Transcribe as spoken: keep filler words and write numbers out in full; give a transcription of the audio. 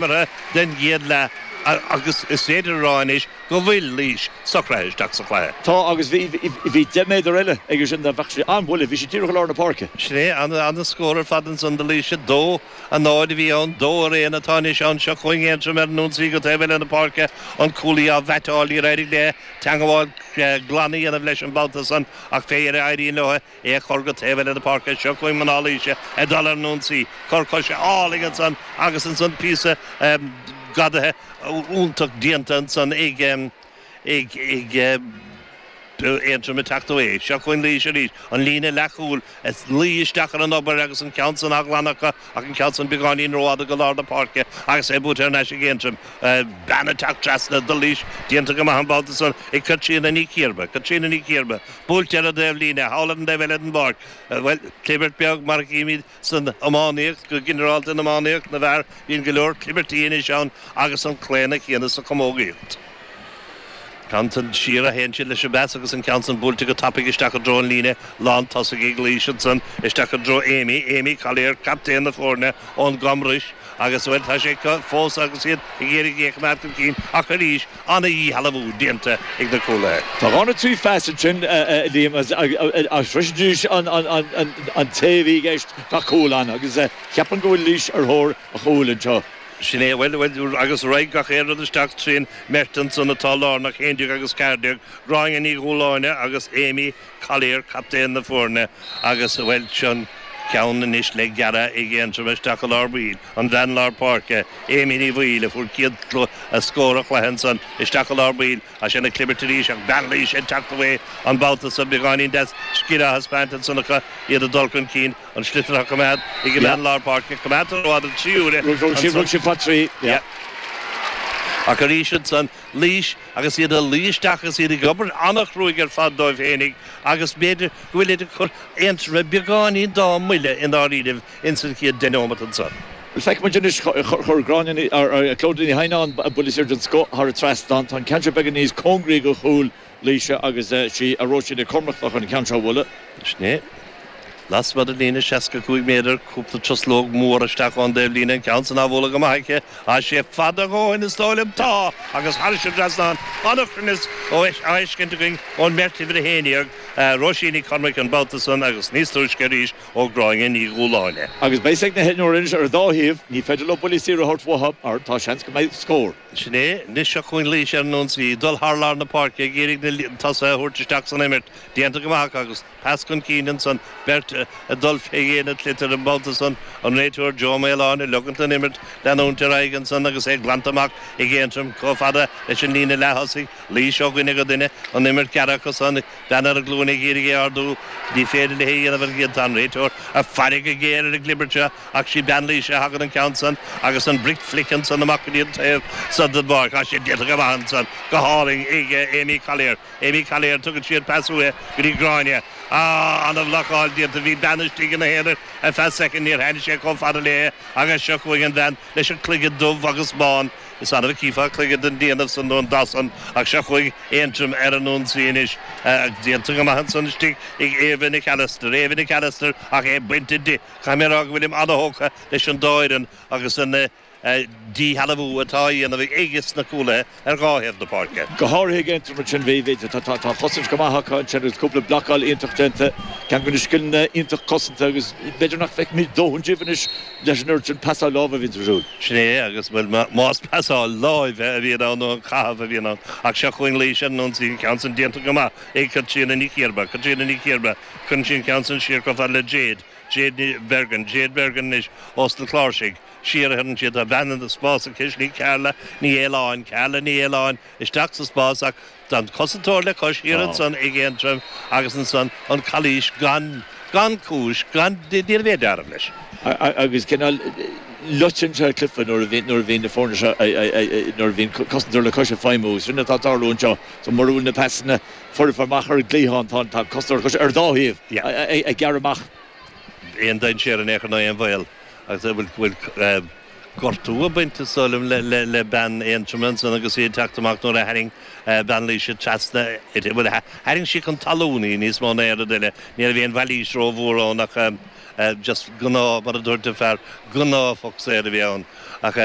imeartha den gcéad leath agus is féidir a rá anois go bhfuil Laois socraithe isteach sa chluiche. Tá agus bhí deich méadar eile aige sin dá bheadh sé an-bhuille, bhí sé díreach i lár na páirce. Sin é, an-scór ar fad ansan do Laois, dó a náid a bhí ann, dó a haon atá anois ann. Seo chugainn Aontroim ar an ionsaí go taobh eile na páirce, an cúlaí á bheaiteáil, níor éirigh léi teangmháil glan a dhéanamh leis an mbabhta san ach fé dheireadh éiríonn leo é a chur go taobh eile na páirce. Seo chugainn mná Laoise ag dul ar an ionsaí, cor coise álainn ansan agus ansan píosa gadaithe iontach déanta ansan ag ag ag Aontroim ag teacht uaidh. Seo chugainn Laois arís, an líne leathchúil ag luí isteach ar an obair agus an ceann san á ghlanadh acu ach an ceann san beagáinín rófhada go lár na páirce agus é buaite thar n-ais ag Aontroim. Bean ag teacht trasna do Laois, déanta go maith an babhta san ag Caitríona Ní Chiarba. Caitríona Ní Chiarba buailte ar an dtaobhlíne, thall ar an dtaobh eile den bpáirc. Bhuel, clibirt beag mar a chímid san iománaíocht, go ginearálta in iománaíocht na bhfear, bíonn go leor clibirtí anois ann agus an claonadh céanna sa chamógaíocht. Ceann san siar a théann siad leis an bpas agus an ceann san buailte go tapaidh isteach i dtreo an líne lán tosaigh ag Laois ansan isteach i dtreo Amy, Amy Collier, captaen na foirne ón gCamrois agus, bhuel, tá sé acu fós agus iad ag iarraidh é a choimeád chun cinn ach arís an-dhíshealbhú déanta ag na cúlaithe. Tá dhá nó trí phas ansin, a Liam, agus shroisfidís an té a bhí i gceist, bheadh cúl ann agus ceapaim go bhfuil Laois ar thóir an chúil anseo. Sin é, bhuel, bhuel, agus raghaidh gach aon rud isteach trín mbeirt ansan atá lárnach, haon déag agus ceathair déag, Gráinne Ní Dhúláine agus Amy Collier, captaen na foirne, agus, bhuel, seo an ceann anois le gearradh ag Aontroim isteach i lár baill, an bhean lár páirce, Amy Ní Bhaoill, a fuair céad scór an chluiche ansan, isteach i lár baill, as sin an chlibirt arís ach bean Laoise ag teacht away an babhta so, beagáinín deas scil á thaispeáint ansan acu, iad ag dul chun cinn. An sliotar á choimeád ag an mbean lár páirce, coimeádtar i bhfad an tríú huair Rug sí, rug sí fá trí, yeah. Ach arís ansan, Laois agus iad ag luí isteach agus iad ag obair an-chruaidh ar fad dóibh fhéinig agus b'fhéidir go bhfuil iad ag cur Aontroim beagáinín dá mbuille i ndáiríribh ins an chéad deich nóimeat ansan. Bhuel, feicfidh muid anois, chuir Gráinne Ní, or Clodagh Ní Theimhneáin buille saor den scoth thar an trasnán. Tá an ceann seo beagán níos cóngaraí do chúl Laoise agus sí Róisín Nic Cormaic atá chun an ceann seo a bhualadh. Sin é. Lasmuigh den líne seasca cúig méadar, cúpla truslóg mhór isteach ón dtaobhlíne, an ceann san á bhualadh go maith aici. Tá sé fada a dhóthain, is dóigh liom. Tá! Agus thairis an dtrasnán, an-chruinneas á fheiscint againn ón mbeirt uimhir a haon déag, Róisín Nic Cormaic an babhta san agus níos túisce arís ó Ghráinne Ní Dhúláine. Agus beidh ag na himreoirí anois ar an dá thaobh, ní féidir leo buillí saora a thabhairt uathu mar tá seans go mbeidh scór. Sin é. Anois seo chugainn Laois ar an ionsaí, dul thar lár na páirce ag iarraidh na tosaithe a thabhairt isteach san imirt. Déanta go maith acu agus pas chun cinn ansan, beirt ag dul fé dhéin an tsliotair an babhta san, an réiteoir Joe Maoláin ag ligeant don imirt leanúint ar aghaidh ansan agus é glanta amach ag Aontroim chomh fada leis an líne leath-thosaigh. Laois ó dhuine go duine, an imirt gearrtha acu san, bean ar a glúine ag iarraidh é a ardú, ní féidir léi é a dhéanamh ar an gcéad, tá an réiteoir ag faire go géar ar an gclibirt seo ach sí bean Laoise a thagann an ceann san agus an bric flic ansan amach go dtí an taobh san den bpáirc. Tá sé déanta go maith ansan, go hálainn ag Amy Collier. Amy Collier, tugann sí an pas uaithi go dtí Gráinne. Ah, an-bhlocáil déanta. Bhí bean istigh ina haonar ar feadh soicind, níor tháinig sé chomh fada léi agus seo chugainn an bhean leis an cloigeann dubh agus bán. Is annamh a chífeá cloigeann den déanamh san nó an dath san ach seo chugainn Aontroim ar an ionsaí anois. Déanta go maith ansan istigh ag Éabha Nic Alastair, Éabha Nic Alastair ach é bainte di. Caithfidh mé a rá go bhfuilim an-thógtha leis an dá fhoireann agus an díshealbhú atá á dhéanamh ages na cúlaithe ar dhá thaobh na páirce. Go háirithe ag Aontroim ansin, bhí, bhí, tá, tá, tá cosaint go maith acu ansin agus cúpla blocáil iontach déanta, ceann de na scileanna iontach cosanta agus b'fhéidir nach bhfeicfimid dóthain díobh anois leis an oiread sin pasáil láimhe a bhíonns ar siúl. Sin é agus, bhuel, más pasáil láimhe a bhíonn ann nó an caitheamh a bhíonn ann. Ach seo chugainn Laois ar an ionsaí, an ceann san déanta go maith ag Caitríona Ní Chiarba, Caitríona Ní Chiarba, cuireann sí an ceann san siar chomh fada le Jade, Jade Bergin, Jade Bergin anois ós na Cláirsigh. Siar a chuireann siad tá bean ina spás aici, sin í Carla Ní Fhaoláin, Carla Ní Fhaoláin isteach sa spás ach an cosantóir le cois thiar ansan ag Aontroim agus ansan an calaois gan, gan cúis, gan, ní raibh aon dealramh leis. Agus cineál loiteann sé cluiche nuair a bhíonn, nuair a bhíonn na foirne seo, nuair a bhíonn cosantóir le cois ag feidhmiú agus sin atá ag tarlú anseo. So mura bhfuil na pasanna foirfe amach ar an gcliathán tá, tá cosantóir le cois ar an dá thaobh ag gearradh amach. Aon dainséar in aon chor ná aon bhaol. Agus an bhfuil gortú ag baint is dóigh liom le bean Aontroma ansan agus í ag teacht amach nuair a tharraing bean Laoise trasna uirthi, bhuel, tharraing sí chun talún í níos mó ná aon rud eile. Ní raibh aon mhailís rómhór ann ach just gnáth mar a dúirt fear gnáth phoc saor a bhí ann ach